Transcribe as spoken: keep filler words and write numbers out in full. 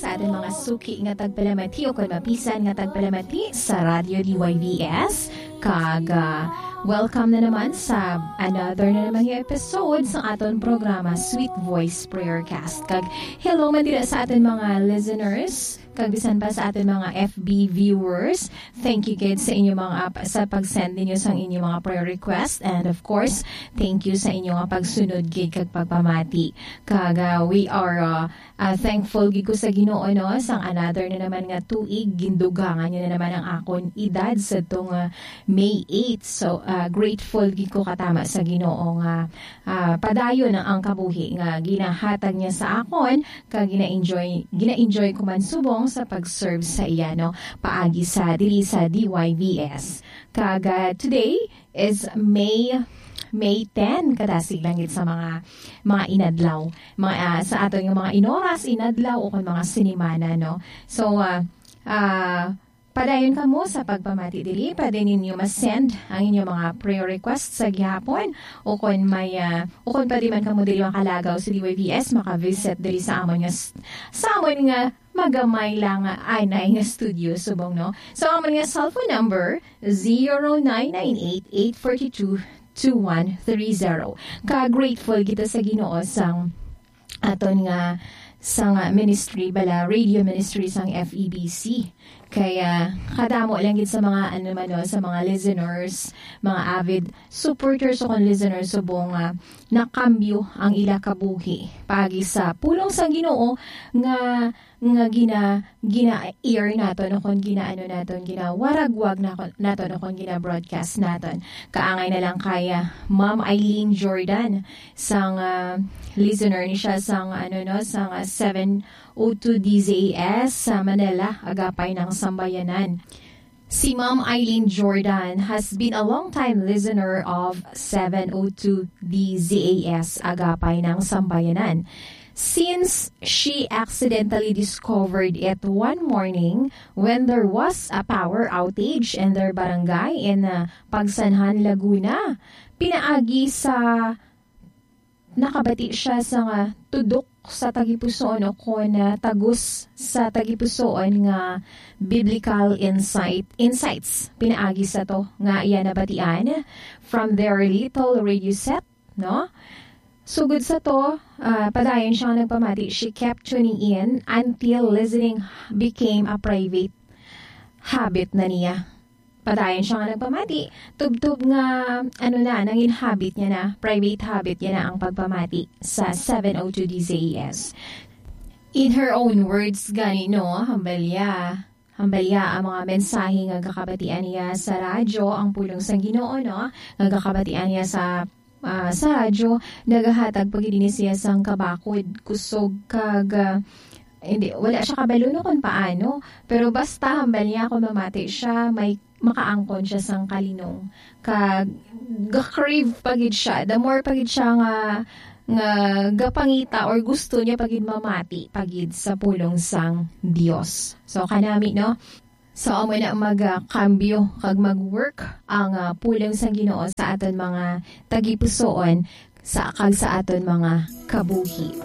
Sa aton mga suki nga tagpalamati o kon mapisan nga tagpalamati sa Radyo D Y V S, kag, ah, welcome na naman sa another na naman nga episode sa aton programa, Sweet Voice Prayercast. Kag hello man dira sa aton mga listeners, kag bisan pa sa aton mga F B viewers. Thank you gid sa inyo mga, sa pag-send ninyo sang inyo mga prayer request, and of course, thank you sa inyo nga pagsunod gid kag pagpamati. Kag, ah, we are, ah, Ah, thankful gid ko sa Ginoo, no, sang another na naman nga tuig, gindugangan niya na naman ang akon edad sa tong, ah, May eight. So, ah, grateful gid ko katama sa Ginoo nga, ah, padayon ang, ang kabuhi nga ginahatag niya sa akon, kag gina-enjoy, gina-enjoy ko man subong sa pag-serve sa iya, no, paagi sa diri sa D Y V S. Kag, ah, today, is May, May ten, kadasig lang gid sa mga, mga inadlaw, mga, ah, sa aton nga mga inoras, inadlaw, o kon mga sinimana, no? So, ah, ah, padayon kamo sa pagpamati diri. Pwede ninyo ma-send ang inyong mga prayer request sa gihapon, o kon may, ah, o kon pwede man kamo diri makalagaw sa D Y V S, maka-visit diri sa amon nga s-, sa amon nga magamay lang nga anay nga studio subong, no? So, amon nga cellphone number, zero nine nine eight, eight four two, two one three zero. Ka-grateful kita sa Ginoo sang aton nga, sang, ah, ministry bala, radio ministry sang F E B C. Kaya kadamo lang gid sa mga, ano man, no, sa mga listeners, mga avid supporters o kon listeners subong nga nakambyo ang ila kabuhi paagi sa pulong sang Ginoo nga, nga gina-, gina-air naton o kon ginaano naton, ginawaragwag nako-, naton o kon gina-broadcast naton. Kaangay na lang kay, ah, Ma'am Eileen Jordan, sang, ah, listener ni siya sang, ano, no, sang, ah, seven oh two D Z A S sa Manila, Agapay ng Sambayanan. Si Ma'am Eileen Jordan has been a long-time listener of seven oh two D Z A S, Agapay ng Sambayanan, since she accidentally discovered it one morning when there was a power outage in their barangay in, uh, Pagsanjan, Laguna. Pinaagi sa nakabati siya sa nga tudok sa tagipusoon o kon, ah, tagus sa tagipusoon nga biblical insight, insights pinaagi sa to nga iya nabatian from their little radio set, no? Sugod sa to, ah, padayon siya nga nagpamati, she kept tuning in until listening became a private habit na niya. Padayon siya nga nagpamati. Tubtob nga, ano na, nangin habit niya na, private habit niya na ang pagpamati sa seven oh two D Z A S. In her own words, gani, no, hambalya. Hambalya ang mga mensahe nga gakabatian niya sa radyo, ang pulong sang Ginoo, no, nga gakabatian niya sa, ah, sa radyo, nagahatag pa gid ini siya sang kabakod, kusog, kag, ah, hindi, wala siya kabalo no kon paano, pero basta hambal niya kung mamati siya, may makaangkon siya sang kalinong. Kag ga-crave pa gid siya. The more pa gid siya nga, nga gapangita or gusto niya pa gid mamati pa gid sa pulong sang Dios. So, kanami, no? So, amo na magakambyo kag mag-work ang, ah, pulong sang Ginoo sa aton mga tagipusoon sa, kag sa aton mga kabuhi.